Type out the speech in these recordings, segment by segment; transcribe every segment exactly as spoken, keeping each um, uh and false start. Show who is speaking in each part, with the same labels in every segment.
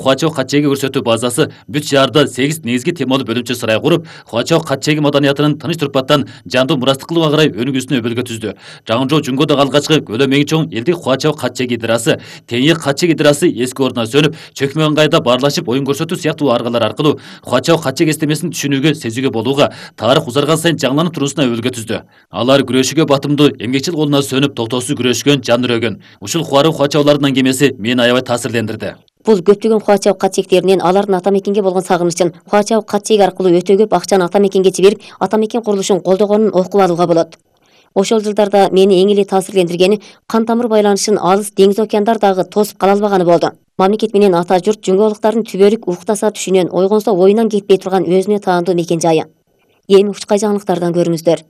Speaker 1: Хуачоо кат-чеги көрсөтүү базасы бүт шаарда сегиз негизги темалуу бөлүмчө сарай куруп, Хуачоо кат-чеги маданиятынын тыныч турпаттан жандуу мурастык кылууга карай өнүгүүсүнө өбөлгө түздү. Жаңжоо Жүнгөдөгү алгачкы көлөмү эң чоң элдик Хуачоо кат-чеги идырасы, Теңи кат-чеги идырасы эски ордуна сөнүп, чөкмө ыңгайда баарлашып оюн көрсөтүү сыяктуу аргалар аркылуу Хуачоо кат-чеги эстемесин түшүнүүгө, сезүүгө болууга, тарых узарган сайын жаңыланып туруусуна өбөлгө түздү. Алар күрөшүүгө батымдуу, эмгекчил колуна сөнүп, токтоосуз күрөшкөн, жан үрөгөн. Ушул кубаруу Хуачоолордун аңгемеси мени аябай таасирлендирди.
Speaker 2: Бул көптөгөн Хуачоо кат-чектеринен алардын ата мекенге болгон сагынычын, Хуачоо кат-чеги аркылуу өтө көп акчаны ата мекенге жиберип, ата мекен курулушун колдогонун окуп алууга болот. Ошол жылдарда мени эң эле таасирлендиргени кан тамыр байланышын алыс деңиз океандар дагы тосуп кала албаганы болду. Мамлекет менен ата журт жүнгөөлүктардын түбөлүк уктаса түшүнөн, ойгонсо оюнан кетпей турган өзүнө таандуу мекен жайы. Эми ушкай жаңылыктардан көрүңүздөр.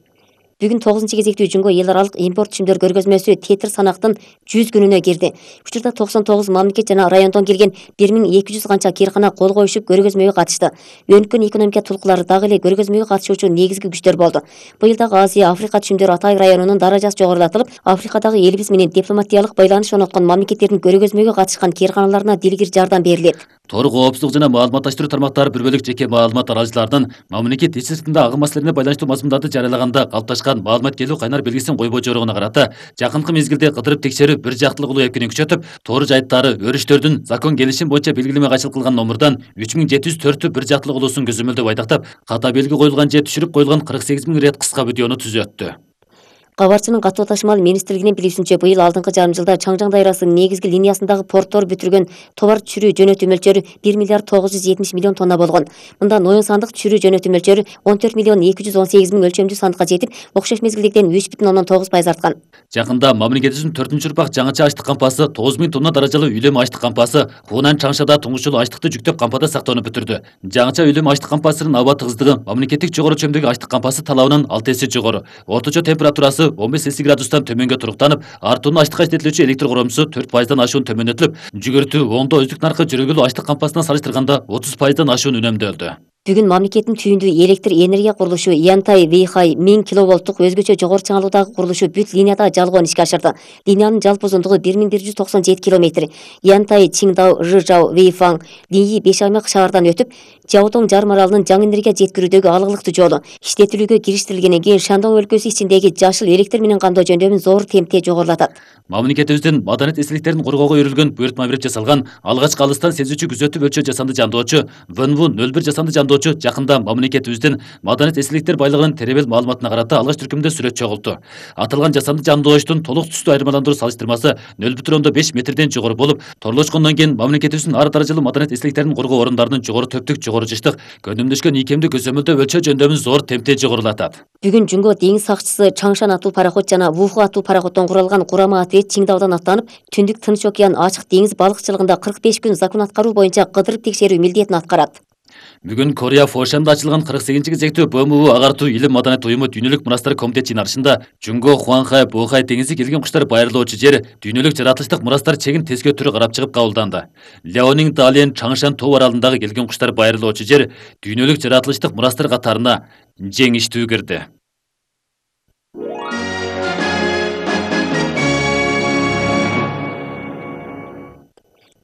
Speaker 2: Бүгүн тогузунчу кезектүү Жүнгө эл аралык импорт түшүмдөр көргөзмөсү тетир санактын жүз күнүнө кирди. Учурда токсон тогуз мамлекет жана райондон келген бир миң эки жүз канча кыйркана кол коюшуп көргөзмөгө катышты. Өнүккөн экономика тулкулары дагы эле көргөзмөгө катышуучу негизги күчтөр болду. Быйыл дагы Азия, Африка түшүмдөр Атай районунун даражасы жогорулатылып, Африкадагы элибиз менен дипломатиялык байланыш орноткон мамлекеттердин көргөзмөгө катышкан кыйрканаларына дилгир жардам берилет.
Speaker 1: Тор коопсуздук жана маалыматташтыруу тармактары бір бөлүк жеке маалымат тараачыларынын мамлекет ич сыртында агым маселелерине байланыштуу мазмундарды жарыялаганда калыпташкан маалымат келүү кайнар белгисин койбой жоругуна карата жакынкы мезгилде кыдырып текшерүү бир жактылык улуу эпкини күчөтүп, тоор жайттары, өрүштөрдүн закон келишим боюнча белгилеме кайшылык кылган номурдан үч миң жети жүз төрттү бир жактылык улуусун көзөмөлдөп айдактап, ката белги коюлган же түшүрүп коюлган кырк сегиз миң рет кыска видеону түзөттү.
Speaker 2: Кабарчынын катуу ташымал министрлигинин билүүсүнчө, быйыл алдыңкы жарым жылда Чаңжаң дайрасынын негизги линиясындагы порттор бүтүргөн товар түшүрүү жөнөтүү мөлчөрү бир миллиард тогуз жүз жетимиш миллион тонна болгон. Мындан оюн сандык түшүрүү жөнөтүү мөлчөрү он төрт миллион эки жүз он сегиз миң өлчөмдүү сандыкка жетип, окшош мезгилдегиден үч бүтүн ондон тогуз пайыз арткан.
Speaker 1: Жакында мамлекетибиздин төртүнчү урпак жаңыча ачтык кампасы тогуз миң тонна даражалуу үйлөм ачтык кампасы Хунан Чаңшада туңуш жолу ачтыкты жүктөп кампада сактоону бүтүрдү. Жаңыча үйлөм ачтык кампасынын аба тыгыздыгы мамлекеттик жогору чөмдөгү ачтык кампасы талабынан алты эсе жогору. Орточо температурасы он беш градустан төмөнгө туруктанып, артуунун ачтыкка жететилүүчү электр коромусу төрт пайыздан ашуун төмөндөтүлүп, жүгүртүү оңдоо үздүк наркы жүргүлүү ачтык кампасына салыштырганда отуз пайыздан ашуун үнөмдөлдү.
Speaker 2: Бүгүн мамлекеттин түйүндүү электр энергия курулушу Янтай Вейхай миң киловолттук өзгөчө жогору чыңалуудагы курулушу бүт линияда жалгоон ишке ашырды. Линиянын жалпы узундугу бир миң бир жүз токсон жети километр. Янтай, Чиңдау, Жыжау, Вейфаң, Линьи беш аймак шаардан өтүп, Жаотоң жарым аралынын жаңы энергия жеткирүүдөгү алгылыктуу жолу. Иштетилүүгө кириштирилгенден кийин Шандон өлкөсү ичиндеги жашыл электр менен камдоо жөндөмүн зор темпте жогорулатат.
Speaker 1: Мамлекетибиздин маданият эстеликтерин коргоого үйрүлгөн буйртма берип жасалган алгачкы алыстан сезүүчү күзөтүп өлчөө жасанды жандоочу ВНВ нөл бир жасанды жандоочу жакында мамлекетибиздин маданият эстеликтер байлыгынын теребел маалыматына карата алгач түркүмдө сүрөт чогулту. Аталган жасанды жандоочтун толук түстүү айырмаландыруу салыштырмасы нөл бүтүн ондон беш метрден жогору болуп, торлошкондон кийин мамлекетибиздин ар даражалуу маданият эстеликтерин коргоо орундарынын жогору төптүк, жогору жыштык, көндөмдөшкөн ийкемди көзөмөлдөө өлчөө жөндөмүн зор темпте жогорулатат.
Speaker 2: Бүгүн Жүнгө деңиз сакчысы Чаңшан аттуу пароход жана Вуху аттуу пароходдон куралган курама отряд Чиңдаудан аттанып, түндүк Тынч океан ачык деңиз балыкчылыгында кырк беш күн закон аткаруу боюнча кыдырып текшерүү милдетин аткарат.
Speaker 1: Бүгүн Корея Фошанда ачылган кырк сегизинчи кезектүү БМУ агартуу илим маданият уюму дүйнөлүк мурастар комитет жыйналышында Жүнгө Хуанхай Бохай деңизи келген куштар байырлоочу жер дүйнөлүк жаратылыштык мурастар чегин тескөө түрү карап чыгып кабылданды. Леонинг Дален Чаңшан тоо аралындагы келген куштар байырлоочу жер дүйнөлүк жаратылыштык мурастар катарына жеңиштүү кирди.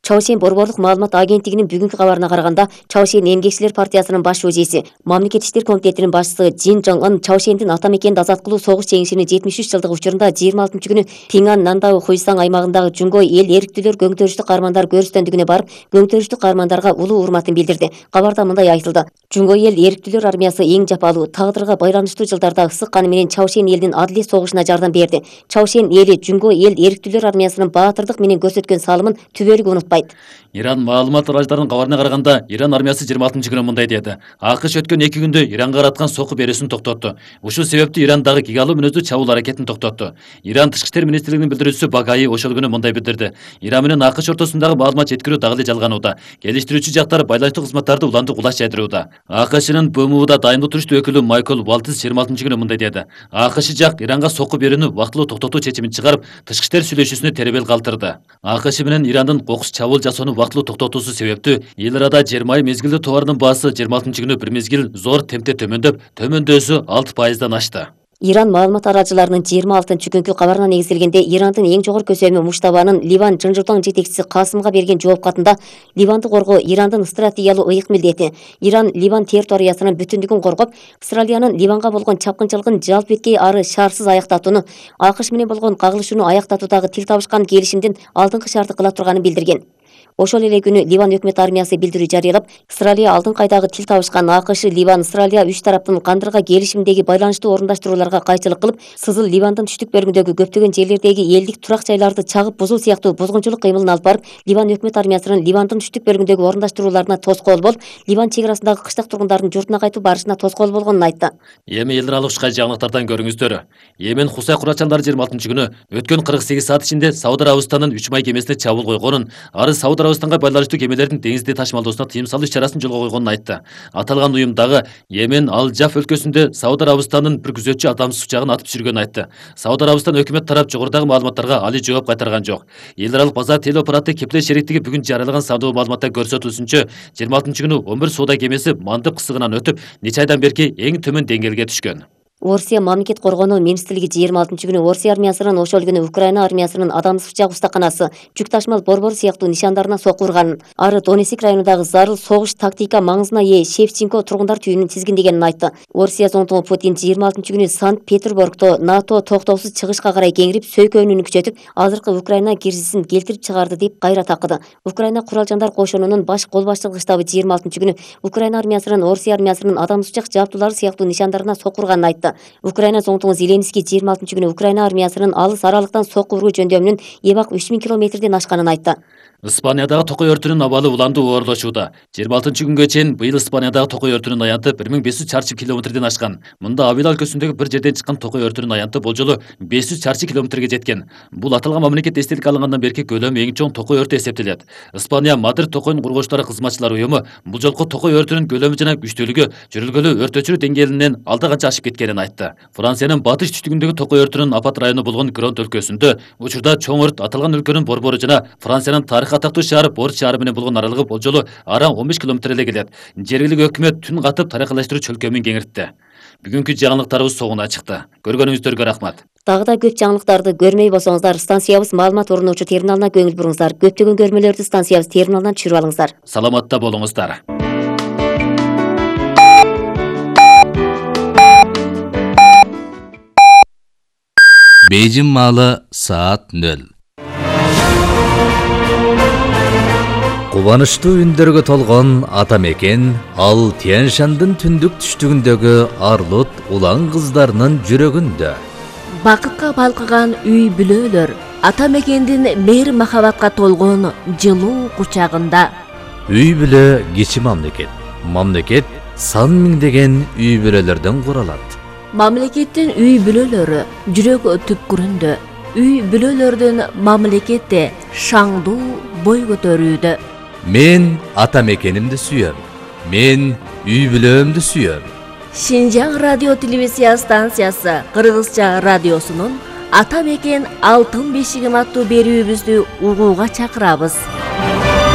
Speaker 1: Чаошен борборлук маалымат агенттигинин бүгүнкү кабарына караганда, Чаошен эмгекчилер партиясынын баш шужиси, мамлекет иштер комитетинин башчысы Джин Жонг Ын Чаошендин ата мекенди азат кылуу согуш жеңишинин жетимиш үч жылдык учурунда жыйырма алтынчы күнү Пиңан Нандау Хуйсаң аймагындагы Жүнгө эл эрктүүлөр көңтөрүштүк каармандар көрүстөндүгүнө барып, көңтөрүштүк каармандарга улуу урматын билдирди. Кабарда мындай айтылды: Жүнгө эл эрктүүлөр армиясы эң жапалуу, тагдырга байланыштуу жылдарда ысык каны менен Чаошен элинин адилет согушуна жардам берди. Чаошен эли Жүнгө эл эрктүүлөр армиясынын баатырдык менен көрсөткөн салымын түбөлүк унутпайт. Иран маалымат тараачыларынын кабарына караганда, Иран армиясы жыйырма алтынчы күнү мындай деди: АКШ өткөн эки күндө Иранга караткан соку берүүсүн токтотту. Ушул себептүү Иран дагы гигалуу мүнөздүү чабуул аракетин токтотту. Иран тышкы иштер министрлигинин билдирүүчүсү Багаи ошол күнү мындай билдирди: Иран менен АКШ ортосундагы маалымат жеткирүү дагы эле жалганууда. Келиштирүүчү жактар байланыштуу кызматтарды улантып улаш жайдырууда. АКШнын БМУда дайындык туруштуу өкүлү Майкл Валтис жыйырма алтынчы күнү мындай деди: АКШ жак Иранга соку берүүнү убактылуу токтотуу чечимин чыгарып, тышкы иштер сүйлөшүүсүнө теребел калтырды. АКШ менен Ирандын кокус чабуул жасоону убактылуу токтотуусу себептүү эл арада жыйырма ай мезгилдүү товардын баасы жыйырма алтынчы күнү бир мезгил зор темпте төмөндөп, төмөндөсү алты пайыздан ашты.
Speaker 2: Иран маалымат арачыларынын жыйырма алтынчы күnkү кабарына негизделгенде Ирандын эң жогорку көсөмү Муштабанын Ливан Жынжыртоң жетекчиси Касымга берген жооп катында Ливанды коргоо Ирандын стратегиялык ыйык милдети. Иран Ливан территориясынын бүтүндүгүн коргоп, Австралиянын Ливанга болгон чапкынчылыгын жалп эткей ары шаарсыз аяктатууну, АКШ менен болгон кагылышууну аяктатуудагы тил табышкан келишимдин алдыңкы шарты кыла турганын билдирген. Ошол эле күнү Ливан өкмөт армиясы билдирүү жарыялап, Австралия алдыңкы айдагы тил табышкан АКШ, Ливан, Австралия үч тараптын кандырга келишимдеги байланыштуу орундаштрууларга кайчылык кылып, Сызыл Ливандын түштүк бөлүгүндөгү көптөгөн жерлердеги элдик турак жайларды чагып бузуу сыяктуу бузгунчулук кыймылын алып барып, Ливан өкмөт армиясынын Ливандын түштүк бөлүгүндөгү орундаштрууларына тоскоол болуп, Ливан чек арасындагы кыштак тургундардын журтуна кайтып барышына тоскоол болгонун айтты.
Speaker 3: Эми элдер алышкан жаңылыктардан көрүңүздөр. Йемен Хусай курачандары жыйырма алтынчы күнү өткөн кырк сегиз саат ичинде Сауд Арабистанынын үч май кемесине чабуул койгонун, ары Сауд Арабистанга байланыштуу кемелердин деңизде ташымалдоосуна тыйым салуу иш-чарасын жолго койгонун айтты. Аталган уюм дагы Йемен Ал-Джаф өлкөсүндө Сауд Арабистанынын бір күзөтчү адамсыз учагын атып түшүргөнүн айтты. Сауд Арабистан өкмөт тарап жогорудагы маалыматтарга али жооп кайтарган жок. Эл аралык базар телеоператор Кеплер шериктиги бүгүн жарыялаган сандуу маалыматта көрсөтүлүшүнчө, жыйырма алтынчы күнү он бир соода кемеси мандып кысыгынан өтүп, нече айдан берки эң төмөн деңгээлге түшкөн.
Speaker 2: Орусия мамлекет коргонуу министрлиги жыйырма алтынчы күнү Орусия армиясынын ошол күнү Украина армиясынын адамсыз учак устаканасы, жүк ташымал борбор сыяктуу нишандарына сокку урганын, ары Донецк районундагы зарыл согуш тактика маңызына ээ Шевченко тургундар түйүнүн тизгиндегенин айтты. Орусия зондугу Путин жыйырма алтынчы күнү Санкт-Петербургдо НАТО токтоосуз чыгышка карай кеңирип, сөйкөөнүн күчөтүп, азыркы Украина кризисин келтирип чыгарды деп кайра такыды. Украина куралжандар кошунунун баш кол башчылык штабы жыйырма алтынчы күнү Украина армиясынын Орусия армиясынын адамсыз учак жабдуулары сыяктуу нишандарына сокку урганын айтты. Украина зондугу Зеленский жыйырма алтынчы күнү Украина армиясынын алыс аралыктан сокку уруу жөндөмүнүн эбак үч миң километрден ашканын айтты.
Speaker 3: Испаниядагы токой өртүнүн абалы уланды оорлошууда. жыйырма алтынчы күнгө чейин быйыл Испаниядагы токой өртүнүн аянты бир миң беш жүз чарчы километрден ашкан. Мында Авила өлкөсүндөгү бир жерден чыккан токой өртүнүн аянты болжолу беш жүз чарчы километрге жеткен. Бул аталган мамлекет эстелик алынгандан берки көлөмү эң чоң токой өртү эсептелет. Испания Мадрид токойдун кургучтары кызматчылар уюму бул жолку токой өртүнүн көлөмү жана күчтүүлүгү жүрүлгөлү өрт өчүрүү деңгээлинен алда канча ашып кеткенин айтты. Франциянын батыш түштүгүндөгү токой өртүнүн апат району болгон Гронт өлкөсүндө учурда чоң өрт аталган өлкөнүн борбору жана Франциянын тарых атактуу шаары Бордо шаары менен болгон аралыгы болжолу араң он беш километр эле келет. Жергиликтүү өкмөт түн катып таракалаштыруу чөлкөмүн кеңиртти. Бүгүнкү жаңылыктарыбыз соңуна чыкты. Көргөнүңүздөргө рахмат.
Speaker 2: Дагы да көп жаңылыктарды көрмөй болсоңуздар, станциябыз маалымат орночу терминалына көңүл буруңуздар. Көптөгөн көрмөлөрдү станциябыз терминалынан түшүрүп алыңыздар.
Speaker 3: Саламатта болуңуздар.
Speaker 4: Бейжин маалы саат нөл. Кубанычтуу үндөргө толгон ата мекен ал Тянь-Шандын түндүк түштүгүндөгү арлут улан кыздарынын жүрөгүндө.
Speaker 5: Бакытка балкыган үй бүлөлөр ата мекендин мээр махабатка толгон жылуу кучагында.
Speaker 4: Үй бүлө кичи мамлекет. Мамлекет сан миңдеген үй бүлөлөрдөн куралат.
Speaker 5: Мамлекеттин үй бүлөлөрү жүрөк түпкүрүндө. Үй бүлөлөрдүн мамлекетте шаңдуу бой көтөрүүдө.
Speaker 4: Мен ата мекенимди сүйөм. Мен үй бүлөмдү сүйөм.
Speaker 5: Шинжаң радио телевизия станциясы Кыргызча радиосунун Ата мекен алтын бешигим аттуу берүүбүздү угууга чакырабыз.